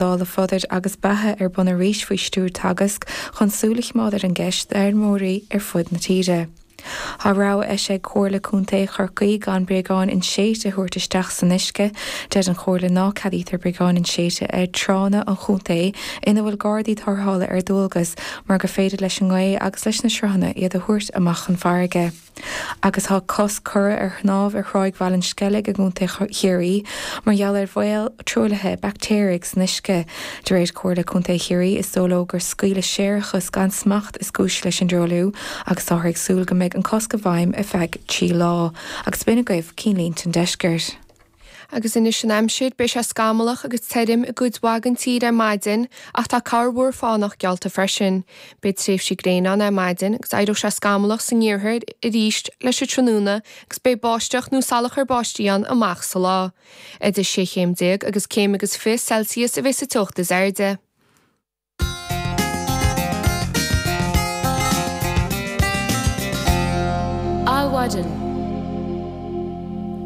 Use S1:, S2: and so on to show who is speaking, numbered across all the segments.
S1: Dála Fodair agus Beatha ar bun arís faoi stiúir Teagasc chun súil a choimeád ar an gceist d'fheirmeoirí ar fud na tíre. Tá rabhadh eisithe ag Comhairle Contae Chorcaí gan bréagáin inséidte a thabhairt isteach san uisce. Deir an Chomhairle ná ceadaítear bréagáin inséidte ar tránna an chontae ina bhfuil gardaí tarrthála ar dualgas mar gur féidir leis an ngaoth agus leis na sruthanna iad a thabhairt amach chun farraige. Agus tá cosc curtha ar shnámh ar Thráigh Bhaile an Sceilg i gContae Chiarraí mar gheall ar bhaol truaillithe baictéaraigh san uisce. De réir Comhairle Contae Chiarraí, is dóigh leo gur scaoileadh séarachas gan smacht is cúis leis an dtruailliú agus táthar ag súil go mbeidh an cosc i bhfeidhm ar feadh 3 lá. Agus b'in agaibh cinnlínte an deiscirt.
S2: Agus anois an aimsir, beidh sé scamallach agus tirim i gcuid mhaith den tír ar maidin ach tá corrmhúr fánach geallta freisin. Beidh tréimhsí gréine ann ar maidin agus éireoidh sé scamallach san iarthar arís leis an tráthnóna agus beidh báisteach nó salachar báistí ann amach sa lá. Idir 16 chéim agus céim agus 20 Celsius a bheidh sa teocht is airde.
S3: Adhmhaidin.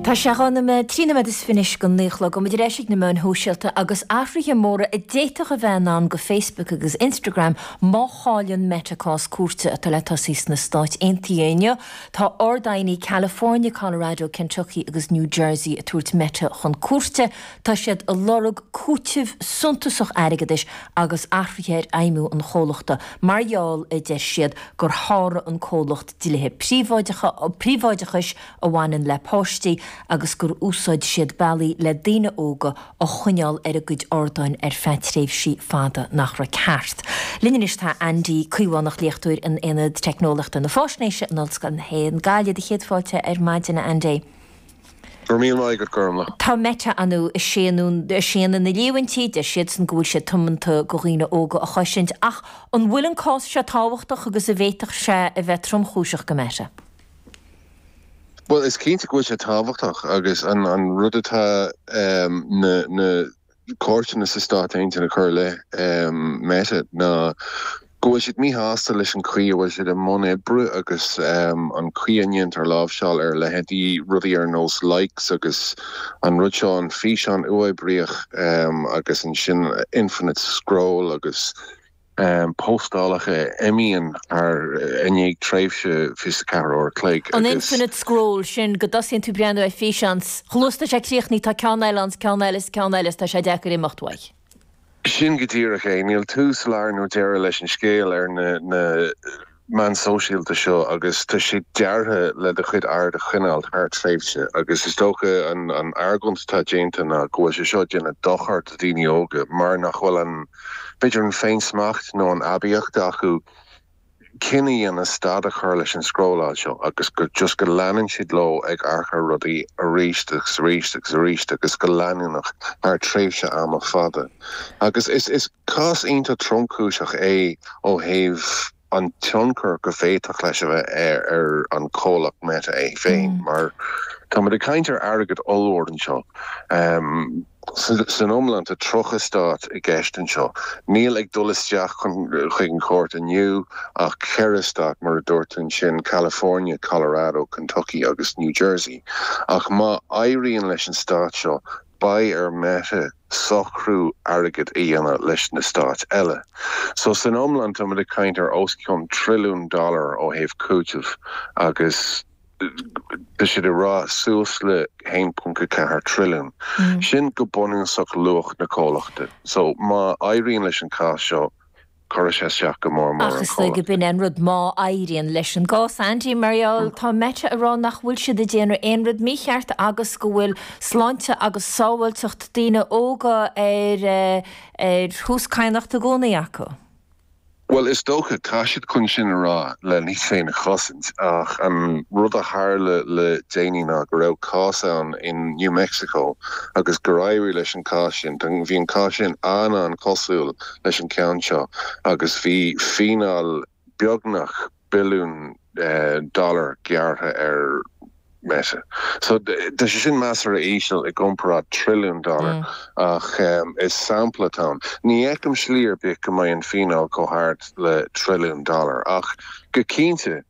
S3: Tá sé 2 nóiméad, 3 nóiméad is fiche anois go 9 a chlog. Muid ar ais ag na meáin shóisialta agus athruithe móra a d'fhéadfadh a bheith i ndán go Facebook agus Instagram má chailleann Meta cás cúirte atá le tosaí sna Stáit Aontaithe inniu. Tá Ard-Aighní California, Colorado, Kentucky agus New Jersey ag tabhairt Meta chun cúirte. Tá siad ag lorg cúiteamh suntasach airgeadais agus athruithe ar fheidhmiú an chomhlachta mar gheall, a deir siad, gur sháraigh an comhlacht dlíthe príobháideachais a bhaineann le páistí agus gur úsáid siad bealaí le daoine óga a choinneáil ar a gcuid ardáin ar feadh tréimhsí fada nach raibh ceart. Linn anois tá Andy Caomhánach, léachtóir in Aonad Teicneolaíochta na Faisnéise in Ollscoil na hÉireann, Gaillimh. Do chéad fáilte ar maidin, a Andy.
S4: Go raibh míle maith agat, Gormlaith.
S3: Tá Meta ar ndóigh ag séanadh na líomhaintí, deir siadsan go bhfuil siad tiomanta go dhaoine óga a chosaint, ach an bhfuil an cás seo tábhachtach agus an bhféadfadh sé a bheith tromchúiseach go Meta?
S4: Bhuel, is cinnte go bhfuil sé tábhachtach agus an rud atá na na cúirteanna sa Stát Aontaithe ag cur i leith Meta ná go bhfuil siad míshásta leis an chaoi a bhfuil siad i mbun oibre agus an chaoi a ndéantar láimhseáil ar leithéidí rudaí ar nós likes agus an rud seo, an físeán uathoibríoch agus ansin infinite scroll agus postálacha a imíonn thar i ndiaidh tréimhse 24 uair a chloig
S3: An agus. infinite scroll sin go dtosaíonn tú breathnú ar físeán 's chomh luath is tá sé críochnaithe tá ceann eile ann 's ceann eile 's ceann eile 's tá sé deacair imeacht uaidh.
S4: Sin go díreach é. Níl tús, lár nó deireadh leis an scéal ar na na meáin sóisialta seo agus tá sé deartha le do chuid aird a choinneáil thar tréimhse agus is dócha an an argóint atá déanta ná go bhfuil sé seo ag déanamh dochar do dhaoine óga mar nach bhfuil an b'fhéidir an féinsmacht nó an aibíocht acu cinneadh a dhéanamh stad a chur leis an scrolláil seo agus go just go leanann siad leo ag amharc ar rudaí arís agus arís agus arís agus go leanúnach thar tréimhse ama fada. Agus is is cás iontach tromchúiseach é ó thaobh an tionchar go bhféadfadh leis a bheith ar ar an chomhlacht Meta é féin mar táimid ag caint ar airgead ollmhór anseo. San iomlán tá 30 stát i gceist anseo. Níl ag dul isteach chuig an chúirt inniu ach ceithre stát, mar a dúirt tú ansin, California, Colorado, Kentucky agus New Jersey. Ach má éiríonn leis an stát seo, beidh ar Meta socrú airgid a dhéanamh leis na stáit eile. So san iomlán táimid ag caint ar os cionn trilliún dollar ó thaobh cúitimh agus. Tá siad ag rá suas le 1.4 trilliún. Sin go bunúsach luach na comhlachta. So má éiríonn leis an cás seo, cuirfidh sé isteach go mór mór
S3: ar
S4: an
S3: Ach is dóigh
S4: chomhlacht.
S3: go b'in é an rud, má éiríonn leis an gcás, Andy, mar gheall, tá Meta ag rá nach bhfuil siad ag déanamh aon rud mícheart agus go bhfuil sláinte agus sábháilteacht daoine óga ar ar thús cadhnachta i gcónaí acu.
S4: Bhuel, is dócha, tá siad chun sin a rá le iad féin a chosaint, ach an rud a tharla le déanaí ná go raibh cás ann in New Mexico agus gur éirigh leis an cás sin. Bhí an cás sin an-an-chosúil leis an ceann seo agus bhí fíneáil beagnach billiún dollar gearrtha ar Meta. So, tá sé sin measartha íseal i gcomparáid trilliún dollar ach is sampla atá ann. Ní fheicim slí ar bith go mbeidh an fíneáil chomh hard le trilliún dollar ach go cinnte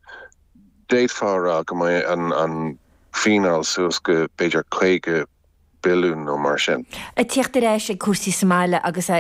S4: d'fhéadfá a rá go mbeidh an fíneáil suas go b'fhéidir 50. billiún nó mar sin.
S3: Ag tíocht ar ais ag cúrsaí sa mbaile agus.